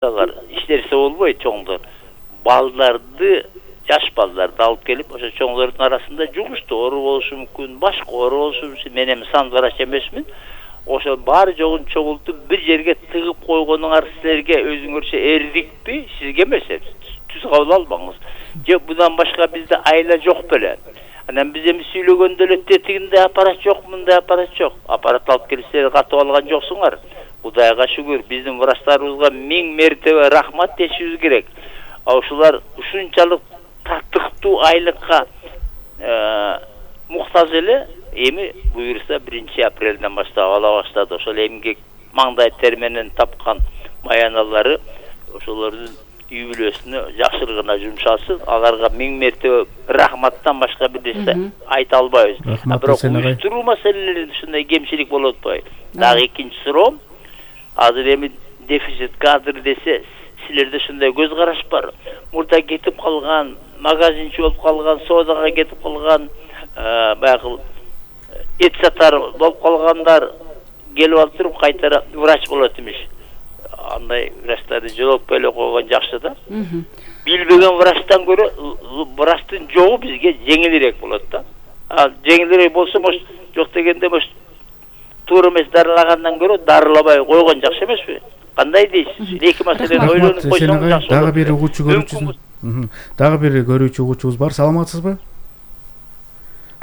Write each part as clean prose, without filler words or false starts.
иштерсе болбойт чоңдор. Балдарды, жаш балдарды алып келип, ошо чоңдордун арасында жугуштуу оору болушу мүмкүн, башка оору болушу мүмкүн. Мен эми сан врач эмесмин. Ошо баары жогун чогултуп бир жерге тыгып койгонуңар силерге өзүңөрчө эрдикпи, сизге эмес. Түз кабыл албаңыз. Же будан башка бизде айла жок беле. Анан биз эми сүйлөгөндө эле тетигинде аппарат жок, мындай аппарат жок. Аппарат алып келсеңер катып алган жоксуңар. Кудайга шүгүр, биздин врачтарыбызга 1000 мертебе рахмат дешибиз керек. Ошолар ушунчалык таттыктуу айлыкка муктаж эле. Эми буюрса 1 апрелден баштап ала баштады. Ошол эмгек маңдай тер менен тапкан маяналары ошолордун үй бүлөсүнө жакшыргына жумшалсын. Аларга 1000 мертебе рахматтан башка бир нерсе айта албайбыз. Бирок уюштуруу маселелеринде ушундай кемчилик болуп атпайбы? Дагы экинчи суроом, азыр эми дефицит кадр десе, силерде ушундай көз караш бар. Мурда кетип калган, магазинчи болуп калган, соодага кетип калган, баягы эт сатар болуп калгандар келип алып туруп кайтара врач болот имиш. Андай врачтарды жолоп эле койгон жакшы да. Билбеген врачтан көрө врачтын жогу бизге жеңилирээк болот да. Жеңилирээк болсо, жок дегенде туура эмес дарылагандан көрө дарылабай койгон жакшы эмеспи? Кандай дейсиз? Эки маселени ойлонуп койсоң жакшы. Дагы бир угуучу көрүүчүбүз. Дагы бир көрүүчү угуучубуз бар. Саламатсызбы?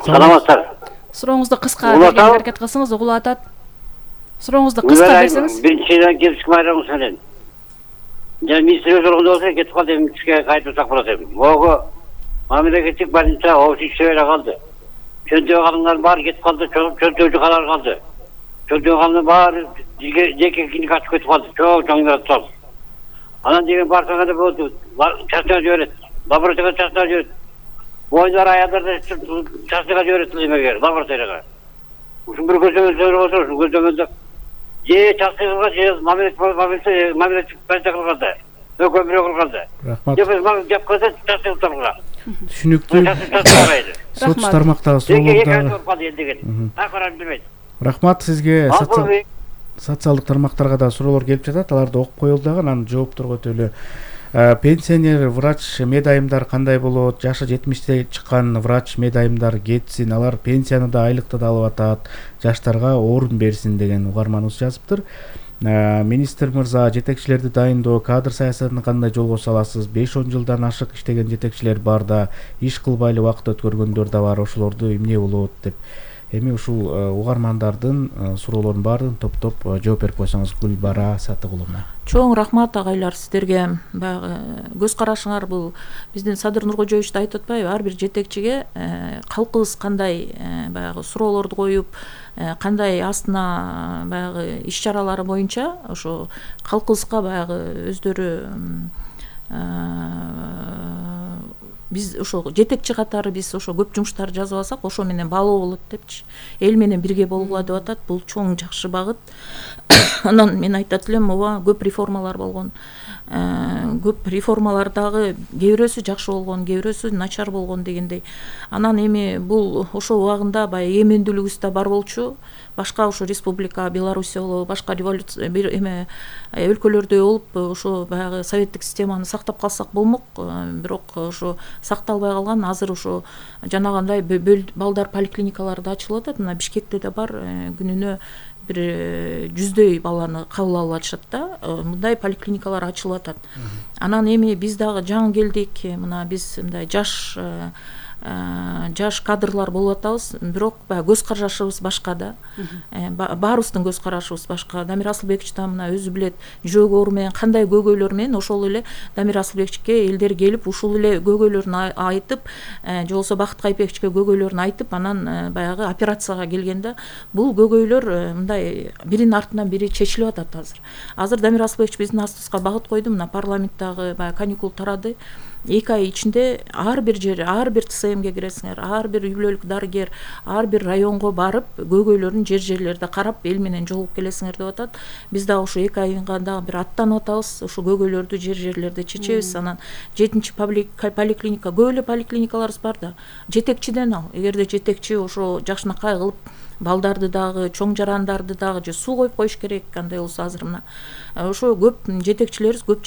Саламатсыздар. Сурооңузду кыска берүүгө аракет кылсаңыз угулуп атат. Сурооңузду кыска берсеңиз. Биринчиден кепсик майрамыңыз менен. Жана министр өзөргөндө болсо кетип калды, эми түшкө кайтып болот эми. Могу мамлекеттик больница офисче эле калды. Чөндөй калгандар баары кетип калды, чөндөйчү калар калды. Чөндөй калгандар баары жеке клиника ачып кетип калды. Чоң тал. Анан деген барсаңа да болду. Частыга жиберет. Лабораторияга частыга жиберет. Бойлар аялдарды частыга жиберет эмеге, лабораторияга. Ушун бир көзөмөл болсо, ушул көзөмөлдө же частыга же мамлекеттик больница кылганда. Экөө бирөө кылганда. Рахмат. Жап койсо частыга кылганда. Түшүнүктүү. Соц тармактагы суроолордо. Рахмат сизге. Социалдык тармактарга да суроолор келип жатат, аларды окуп коелу дагы, анан жоопторго өтөлү эле. Пенсионер врач медайымдар кандай болот? Жашы 70те чыккан врач медайымдар кетсин, алар пенсияны да айлыкты да алып атат, жаштарга орун берсин деген угарманыбыз жазыптыр. Министр мырза, жетекчилерди дайындоо, кадр саясатын кандай жолго саласыз? 5-10 жылдан ашык иштеген жетекчилер бар да, иш кылбай эле убакыт өткөргөндөр да бар, ошолорду эмне болот деп. Эми ушул угармандардын суроолорунун баарын топтоп жооп берип койсоңуз Гүлбара Сатыгуловна. Чоң рахмат агайлар сиздерге. Баягы көз карашыңар бул биздин Садыр Нуркожоевич да айтып атпайбы? Ар бир жетекчиге калкыбыз кандай баягы суроолорду коюп, кандай астына баягы иш чаралары боюнча ошо калкыбызга баягы өздөрү биз ошо жетекчи катары биз ошо көп жумуштарды жазып алсак, ошо менен баалоо болот депчи. Эл менен бирге болгула деп атат. Бул чоң жакшы багыт. Анан мен айтат элем, ооба, көп реформалар болгон. Көп реформалар дагы кээ бирөөсү жакшы болгон, кээ бирөөсү начар болгон дегендей. Анан эми бул ошо убагында баягы эмендүүлүгүбүз да бар болчу. Башка ошо республика, Белоруссия болобу, башка революция өлкөлөрдө болуп, ошо баягы советтик системаны сактап калсак болмок. Бирок ошо сакталбай калган. Азыр ошо жанагындай балдар поликлиникалары да ачылып атат. Мына Бишкекте да бар, күнүнө бир 100дөй баланы кабыл алып атышат да. Мындай поликлиникалар ачылып атат. Анан эми биз дагы жаңы келдик. Мына биз мындай жаш кадрлар болуп атабыз, бирок баягы көз карашыбыз башка да. Баарыбыздын көз карашыбыз башка. Дамир Асылбекович да мына өзү билет, жүрөгү оору менен кандай көйгөйлөр менен ошол эле Дамир Асылбековичке элдер келип ушул эле көйгөйлөрүн айтып, же болбосо Бакыт Кайпековичке көйгөйлөрүн айтып, анан баягы операцияга келгенде бул көйгөйлөр мындай биринин артынан бири чечилип атат азыр. Азыр Дамир Асылбекович биздин астыбызга багыт койду, мына парламенттагы баягы каникул тарады. 2 ай ичинде ар бир жер, ар бир ТСМге киресиңер, ар бир үй бүлөлүк дарыгер, ар бир районго барып, көйгөйлөрүн жерлерде карап, эл менен жолугуп келесиңер деп атат. Биз дагы ушу 2 айга дагы бир аттанып атабыз, ушу көйгөйлөрдү жерлерде чечебиз. Анан 7-чи поликлиника, көп эле поликлиникаларыбыз бар да. Жетекчиден ал. Эгерде жетекчи ошо жакшынакай кылып балдарды дагы, чоң жарандарды дагы же суу коюп коюш керек. Кандай болсо азыр мына ошо көп жетекчилерибиз көп